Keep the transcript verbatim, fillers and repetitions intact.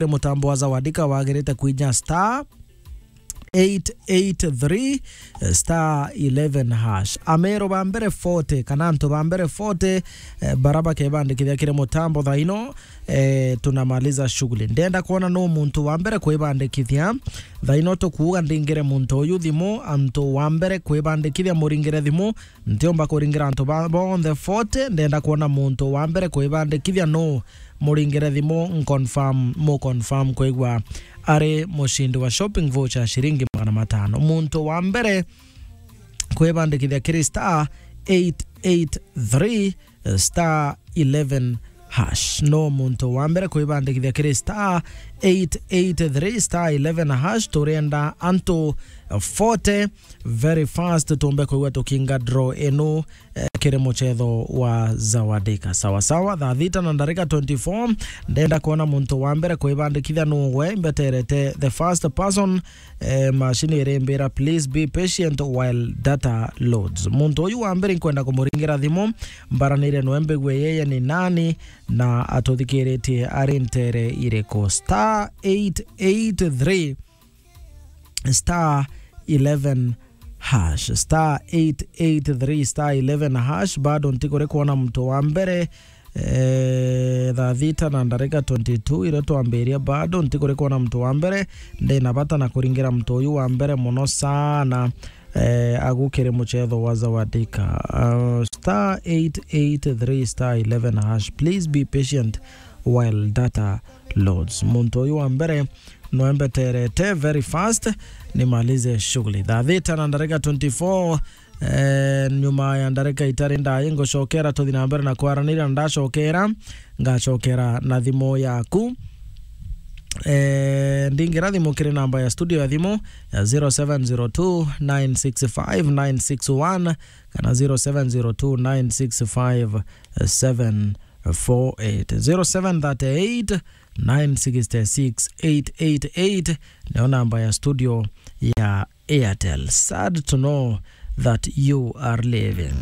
kiri mutambo wa Zawadika wagirite kwija star eight eight three star eleven hash. Ameru ba mbere forty, kana antu ba mbere forty, eh, bara bakebandikithia kiri mutambo thaino, eh, tunamaliza shughuli. Ndenda kwona no muntu wa mbere kwibandikithia. Thaino tukuuga ndingire muntu uyu thimu, antu wa mbere kwibandikithia muringire thimu, ntiumba kuringira antu ba, bonthe forty, ndenda kwona muntu wa mbere kwibandikithia no muringire thimu, nconfirm, mu confirm kwigua ari mushindi wa shopping voucher ya shiringi magana matano. Muntu wa mbere kwibandikithia kiri star eight eight three star eleven hash. No muntu wa mbere kwibandikithia kiri star eight eight three star eleven hash. Turenda antu forty very fast tumbe kwigua tukinga draw inu, eh, kiri muchetho wa Zawadika. Sawa sawa, thaa thita na ndarika twenty-four, ndenda kwona muntu wa mbere kwibandikithia nugwe, mbeterete the first person. Eh, machine irimbira, "Please be patient while data loads." Muntu uyu wa mbere nkwenda kumuringira thimu, mbaranire nwe mbigue yeye ni nani na atuthikiritie ari ntere iriku. Star eight eight three star eleven hash, star eight eight three star eleven hash. Bado ntikuri kwona muntu wa mbere. Eh, thaa thita na ndarika twenty-two iria twambiria, bado ntikuri kwona muntu wa mbere. Ndina bata na kuringira muntu uyu wa mbere muno sana, eh, agukire muchetho wa Zawadika. Uh, star eight eight three star eleven hash. Please be patient while data loads. Muntu uyu wa mbere nwembeterete very fast nimalize shughuli. Thaa thita na ndarika twenty-four, eh, nyuma ya ndarika itari ndai ngucokera tuthi na mbere na kwaraniria, na ndacokera ngacokera na thimu yaku. Eh, ndingira thimu kiri namba ya studio ya thimu ya zero seven zero two nine six five nine six one kana zero seven zero two nine six five seven four eight. Zero seven thirty eight nine six six eight eight eight nio namba ya studio ya Airtel. Sad to know that you are leaving.